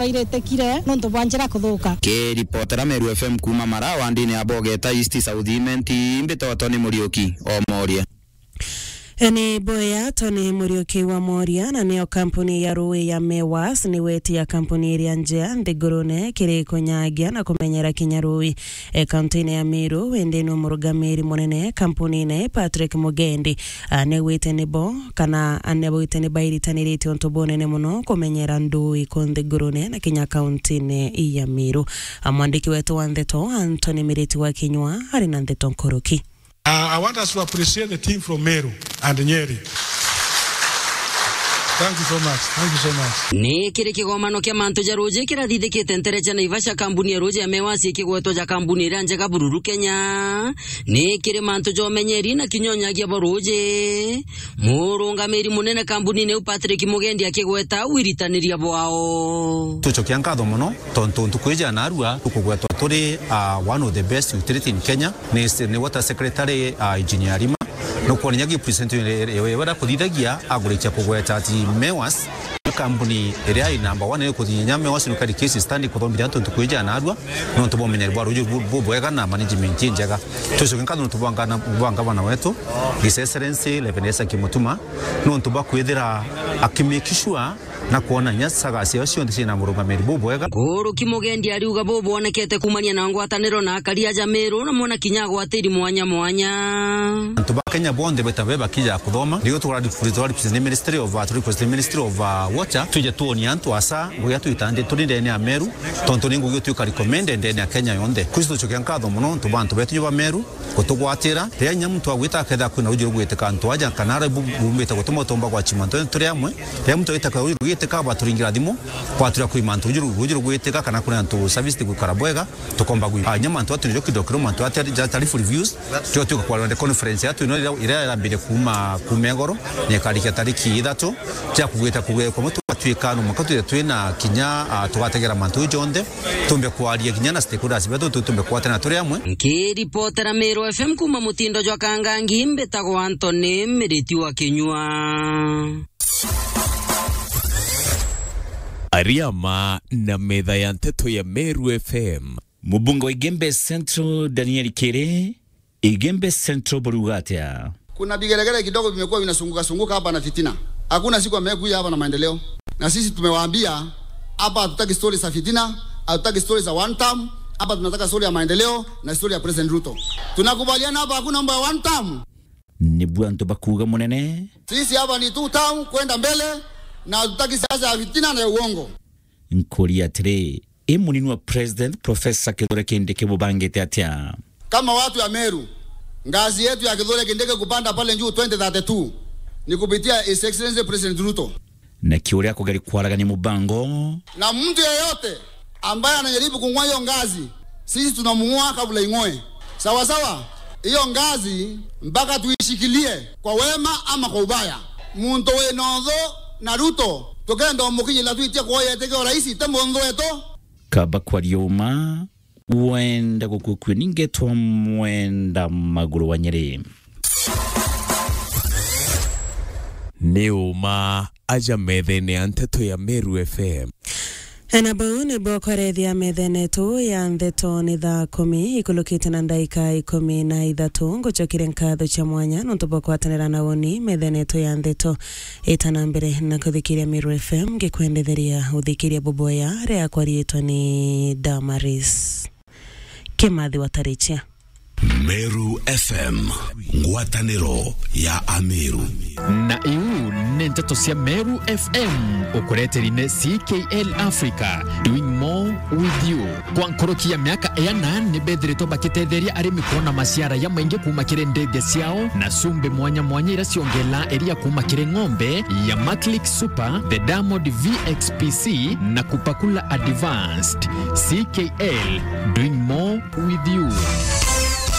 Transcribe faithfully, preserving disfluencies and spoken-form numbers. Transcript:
Bairitikire nontu bwa njira kuthuka. Kiripotera Meru F M kuuma Marawa, ndini ya Bogeta East South Imenti, mbitoto ni Muriuki o Moria. Ni boya Tony Muriuki wa Moria, na niyo kampuni ya ruui ya Mewas ni weti ya kampuni iria njea nthigurune kiri kunyagia na kumenyera kinya ruui. E, kaunti-ini ya Meru, wendeni wa murugamiri munene kampunine Patrick Mugendi, a, nigwite nibo, kana a, nibwite nibairitaniritue untu bunene muno kumenyera ndui ku nthigurune na kinya kaunti-ini ya Meru. A, mwandiki wetu wa ndeto Anthony Miriti wa Kinyua ari na ndeto nkuruki. Uh, I want us to appreciate the team from Meru and Nyeri. Thank you so much. Thank you so much. Ni kiri kigomano kia mantu ja ruuji kirathithikite ntere cia Naivasha, kambuni ya ruuji ya Mewas ikigwetwa ja kambuni iria njega bururu Kenya. Ni kiri mantu ja umenyeri na kinya unyagia bwa ruuji, murungamiri munene kambunine iu Patrick Mugendi akigweta wiritaniria bwao. Tucokia nkatho mono tontu ntuku iji ya narua tukugwetwa turi, uh, one of the best utility in Kenya. Ni, ni water secretary, uh, Engineer Rima. Nukwona inya gi president yewe, yewe kuthithagia agurikia kugweta ati Mewas ni kambuni iria i number one iri kuthinya. Mewas ni kari case study kuthomithia antu ntuku iji ya narua, nontu bwa umenyeri bwa ruuji bu-, bubwega na management injega. Tucokia nkatho nontu bwa ngana-, bwa ngavana wetu, His Excellency Reverend Isaac Mutuma, nontu bwa kwithira aki make sure na kwona inya saga ciao cionthe ciina murungamiri bubwega. Nkuruki Mugendi ariuga bubwonekete kuumania na ngwataniro na akari aja Meru, na mwana kinya agwatiri mwanya mwanya. Antu ba Kenya bonthe beta be bakija kuthoma, riu tugara represent ni Ministry of, uh, turi represent ni Ministry of, uh, Water, twije tuonie antu asa ngugi iria twitandi turi ndene ya Meru, tontu ni ngugi utwika recommended ndene ya Kenya yonthe. Kwisi tucokia nkatho mono nontu bwa antu betu ba Meru, gutugwatira. Riria inya muntu agwita akethira kwina ruuji rugwitika antu aja, kana aria bu-, bumbite gutuma utumba gwachima antu turi amwe. Riria muntu agwita kwina ruuji rugwitika, bwaturingira thimu, bwaturia kwima antu ruuji ru-, ruuji rugwitika, kana kwina antu service tigwikara bwega, tukomba gwi-, ah, inya mantu atu nijo kidogo kidogo mantu atu ja tarifu reviews, tio tuka kwa rwende conference yatu ino iria, iria irambirie kuuma, kuuma igoro, na ikarikia tariki ithatu, cia kugwita kugwikwa mutu. Twikano mwanka twithire twina kinya, ah, tugategera mantu jonthe, tumbe kwaria kinya na stakeholders betu, tu-, tumbe kwatana turi amwe. Nkiripotera Meru F M kuuma mutindo jwa Kangangi, mbitagwa Anthony Miriti wa Kinyua. Ariama na metha ya nteto ya Meru F M. Mubunge wa Igembe Central, Daniel Kiri, Igembe Central buriuga atia? Kuna vigelegele kidogo vimekuwa vinasunguka sunguka hapa na fitina. Hakuna siku amekuja hapa na maendeleo. Na sisi tumewaambia, hapa hatutaki stori za fitina, hatutaki stori za one term, hapa tunataka stori ya maendeleo na stori ya President Ruto. Tunakubaliana hapa hakuna mambo ya one term. Nibu antu bakuuga munene. Sisi hapa ni two term kwenda mbele, na hatutaki siasa ya fitina na ya uongo. Nkuria atiri, i munini wa President Professor Kithure Kindiki bubangite atia? Kama watu ya Meru, ngazi yetu ya Kithure Kindiki kupanda pale juu twenty thirty-two ni kupitia His Excellency President Ruto. Na kiuria akugeri kwaragania mubango. Na mtu yeyote ambaye anajaribu kung'oa hiyo ngazi, sisi tunamng'oa kabla ing'oe. Sawa sawa? Hiyo ngazi mpaka tuishikilie kwa wema ama kwa ubaya. Muntu wina uthu na Ruto, tukenda umukinyira twitie kuoya itikio raisi, ti munthu wetu. Kaba kwaria uma, wenda gukukua ningetwa mwenda maguru wa Nyeri. Ni uma aja methene ya nteto ya Meru F M. Na bau nibo kwarethia methene yetu ya ndeto ni thaa kumi ikulukite na ndaika ikumi na ithatu. Ngucokire nkatho cia mwanya nontu bwa kwatanira na uni methene yetu ya ndeto. Ita na mbere na kuthikiria Meru F M, ngikwendetheria uthikiria buboya riakwa riitwa ni Damaris Kimathi wa Tarichia. Meru F M, ngwataniro ya Ameru. Na iu ni nteto cia Meru F M, ukureteri ni C K L Africa, doing more with you. Kwa nkuruki ya miaka iana, ni bethiritwe bakitetheria arimi kwona maciara jamaingi kuuma kiri ndithia ciao, na cumbi mwanya mwanya iria ciongela iria kuuma kiri ng'ombe ya Maclick Super, the Diamond V X P C, na Kupakula Advanced. C K L, doing more with you.